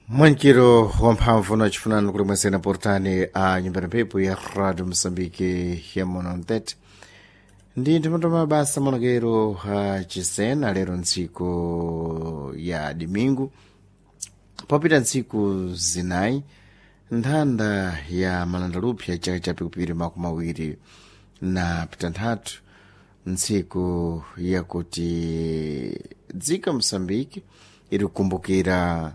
Mwankiro wamphamvu na chifunano kuli mwesena portani a nyumba ya mphepo ya Radio Mosambike ya Monontete ndi nthamatu mabasa monokero a chisena lero ntsiku ya dimingu popita ntsiku zinayi nthanda ya malandalupya chaka cha pikupiri makumi awiri na pitanthatu ntsiku yakuti dziko Mosambike iri kukumbukira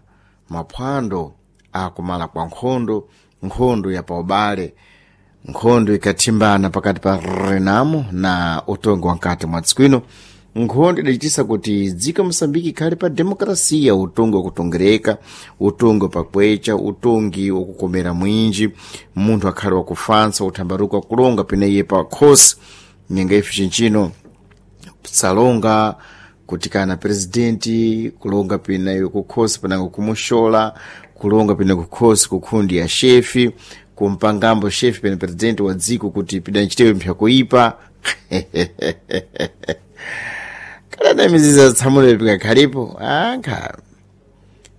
maphwando akumala kwa nkhondo, nkhondo ya paubale, nkhondo ikathimbana pakati pa Renamo na utongi wa nkati mwa tsiku ino. Nkhondo idachitisa kuti dziko Mosambike ikhale pa demokrasiya, utongi wakutongereka, utongi wapakwecha, utongi wakukomera mwinji, munthu akhale wakufansa, uthambaruka kulonga peneiye pa khosi nyenga ife chinchino salonga kuti kana presidenti kulonga pena kukhosi panango kumushola kulonga pena kukhosi kukhundi ya shefi kumpangambo shefi pena presidenti wa dziko kuti pidanchitewe mpyakuipa kalana midzidzi ya tsamula pikakhalipo ankha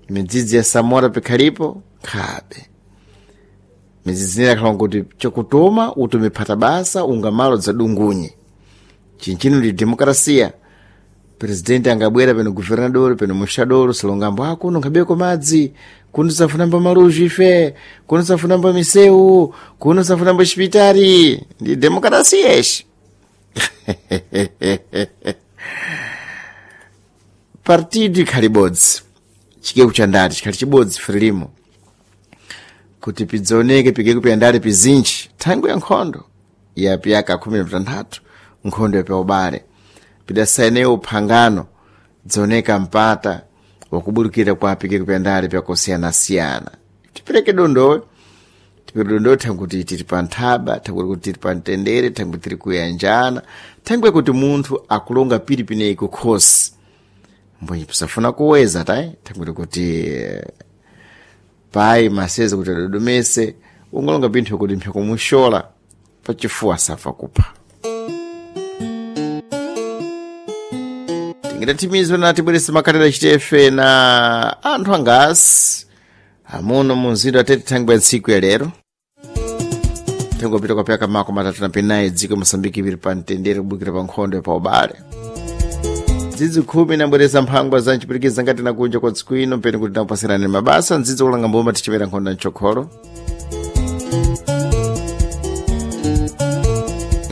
midzidzi ya samora pikhalipo khabe midzidzi ina akhala kuti chakutoma utume phata basa ungamalo dzadungunye chinchino ndi demokrasiya presidenti angabwera peno guvernador peno muxador salongambo ah kuno nkhabeko madzi kuno safunambo maluji ife kuno safunambo misewu kuno safunambo xipitari ndi demokrasiya ixi partido ikhali bodzi chikeku cha ndati chikhali chibodzi frelimo kuti pidzaoneke pikeku pya ndale pizinji thangwi ya nkhondo ya piyaka khumi na pitanthatu nkhondo ya paubale pidasayinewo phangano dzaoneka mpata wakuburukira kwa pikeku pya ndale pyakusiyanasiyana tipereke dondowe tipereke dondowe thanguti tiri pa nthaba thangwe kuti tiri pa mtendere thangwe tiri kuyanjana thangwe kuti munthu akulonga piri pineyi kukhosi mbonyi pisafuna kuweza tayi thangwe kuti pai maseze kuti adodomese ungolonga pinthu kuti mpyakumushola pachifuwa safa kupha tingidathimizwe na tibwerese makhalelo chitefe na anthu angasi amuno mu mzinda atete thangwi ya ntsiku ya lero thangwi apita kwa pyaka mako matatu na penayi dziko Mosambiki ipiri pa mtendere kubukira pa nkhondo ya paubale ndzidzi khumi nabweresa mphangwa za mchipirikiza ngati nakunja kwa tsiku ino mpeni kuti nakupasirani mabasa ndzidzi kulanga mboma tichimera nkhondo mchokholo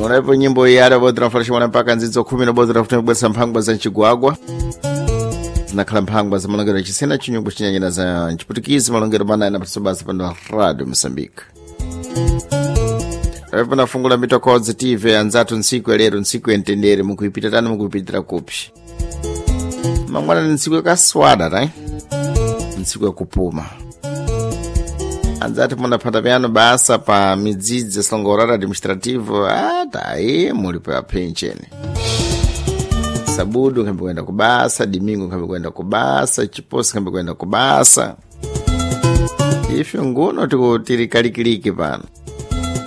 onapo nyimbo iyi ada bodra mfalashimwana mpaka ndzidzo khumi na bodra futi kubweresa mphangwa za mchigwagwa zinakhala mphangwa za malongero achisena chinyungu chinyanyira za mchiputikizi malongero manai na patsobasa pano Radio Mosambike apo nafungula mitokodzi tv anzathu ntsiku ya lero ntsiku ya mtendere mukuipita tani mukuipitira kupi mangwana ni ntsiku yakaswada tai ntsiku yakupuma anzati munaphata pyano basa pa midzidzi yasilongorara administrativo atayi muli pa pensheni sabudu nkhambe kuyenda kubasa dimingo nkhambe kuyenda kubasa chiposi nkhambe kuyenda kubasa ife nguno tiri kalikiliki pano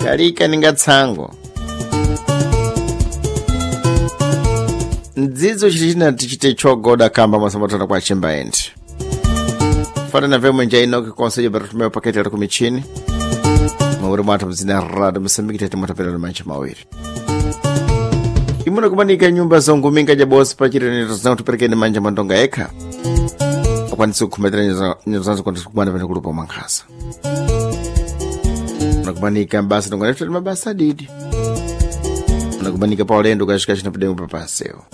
kalika ninga tsango mdzidzo chili tichite chogoda kamba masambatana kwa chimba endi fanana vemwe nja inoki konsejo baratumewa paketi ali kumichini mawiri mwathu mzina rado Mosambiki tete mwatapelano mancha mawiri imuna kumanika nyumba zonguminga jabosi pachireneto zina kutiperekeni manja mandonga ekha akwanise kukhumatira nyenzo zanzo kwanise kumana pene kulupa mwankhasa unakumanika mbasa ndonga nefutati mabasa adidi unakumanika pa ulendo kashikashi napidengo papansewo